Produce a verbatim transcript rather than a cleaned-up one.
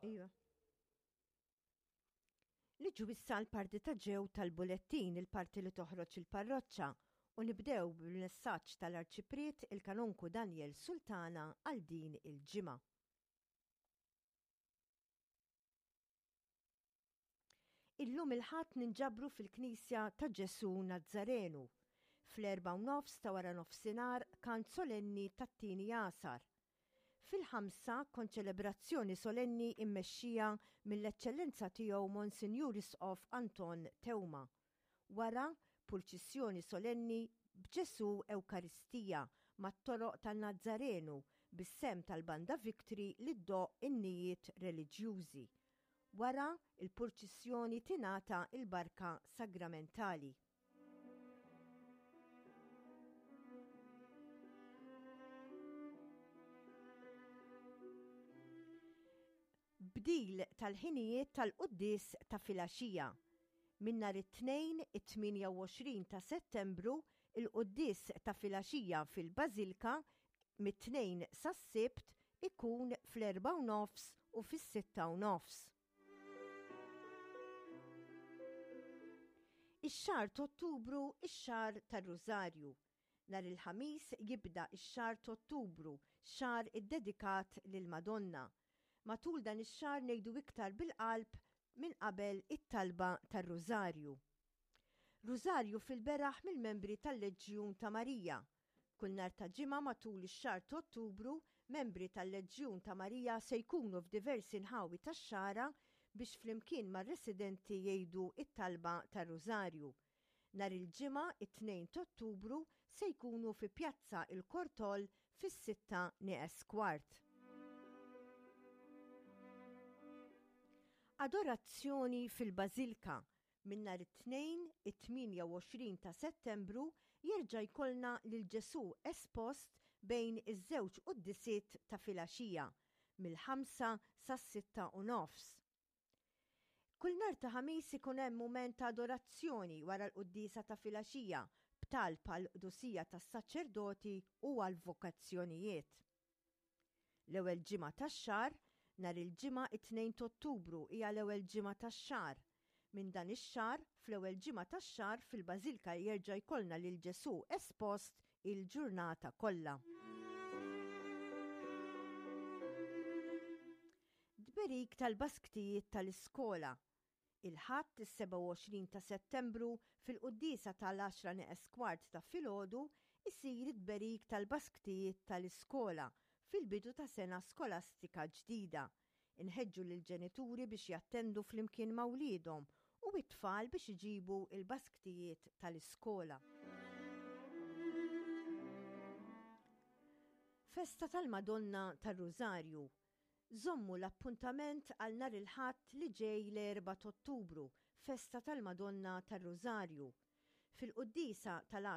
Iva. Niġu issa l-parti ta' ġew tal-bulettin, il-parti li toħroġ il-parroċċa, u nibdew bil-messaġġ tal-Arċipriet il-Kanonku Daniel Sultana għal din il-ġimgħa. Illum il-Ħadd ninġabru fil-Knisja ta' Ġesù Nazzarenu. Fl-erbgħa u nofs ta' wara nofsinhar kant solenni tat-tieni għasar. Fil-ħamsa konċelebrazzjoni solenni immexxija mill-Eċċellenza Tiegħu Monsinjur Isqof Anton Teuma. Wara, purċissjoni solenni b'Ġesù Ewkaristija mat-toroq tan-Nazzarenu bis-sehem tal-Banda Victory li ddoqq innijiet reliġjużi. Wara l-purċissjoni tingħata l-barka sagramentali. Bdil tal-ħinijiet tal-quddies ta' filgħaxija. Minn nhar it-Tnejn it-tmienja u għoxrin ta' Settembru, il-quddies ta' filgħaxija fil-Bażilka mit-Tnejn sas-Sibt ikun fl-erbgħa u nofs u fis-sitta u nofs. Ix-xahar t'Ottubru ix-xahar tar-Rużarju. Nhar il-Ħamis jibda x-xahar t'Ottubru, xahar iddedikat lill-Madonna. Matul dan ix-xahar ngħidu iktar bil-qalb minn qabel it-talba tar-Rużarju. Rużarju fil-beraħ mill-membri tal-Leġjun ta' Marija. Kull nhar ta' Ġimgħa matul ix-xahar t'Ottubru, membri tal-Leġjun ta' Marija se jkunu f'diversi nħawi tax-Xagħra biex flimkien mar-residenti jgħidu t-talba tar-Rużarju. Nhar il-Ġimgħa, it-Tnejn t'Ottubru, se jkunu fi Pjazza il-Kortoll fis-sitta nieqes kwart. Adorazzjoni fil-Bażilka. Minn nhar it-Tnejn, it-tmienja u għoxrin ta' Settembru, jerġa' jkollna lil Ġesù espost bejn iż-żewġ quddisiet ta' filgħaxija, mill-ħamsa sas-sitta u nofs. Kull nhar ta' Ħamis ikun hemm mument ta' adorazzjoni wara l-quddiesa ta' filgħaxija b'talb għall-qdusija tas-saċerdoti u għall-vokazzjonijiet. L-ewwel ġimgħa tax-xahar, nhar il-Ġimgħa it-tnejn t'Ottubru hija l-ewwel ġimgħa tax-xahar. Minn dan ix-xahar, fl-ewwel ġimgħa tax-xahar fil-Bażilka jerġa' jkollna lil Ġesù espost il-ġurnata kollha. Tberik tal-basktijiet tal-iskola. Il-Ħadd is-sebgħa u għoxrin ta' Settembru fil-quddiesa tal-għaxra neqes kwart ta' filgħodu isir it-tberik tal-basktijiet tal-iskola fil-bidu ta' sena skolastika ġdida. Inħeġġu lill-ġenituri biex jattendu flimkien ma' wliedhom u t-tfal biex iġibu l-basktijiet tal-iskola. Festa tal-Madonna tar-Rużarju. Żommu l-appuntament għal nhar il-Ħadd li ġej l-erbgħa t'Ottubru, Festa tal-Madonna tar-Rużarju. Fil-quddiesa tal-għaxra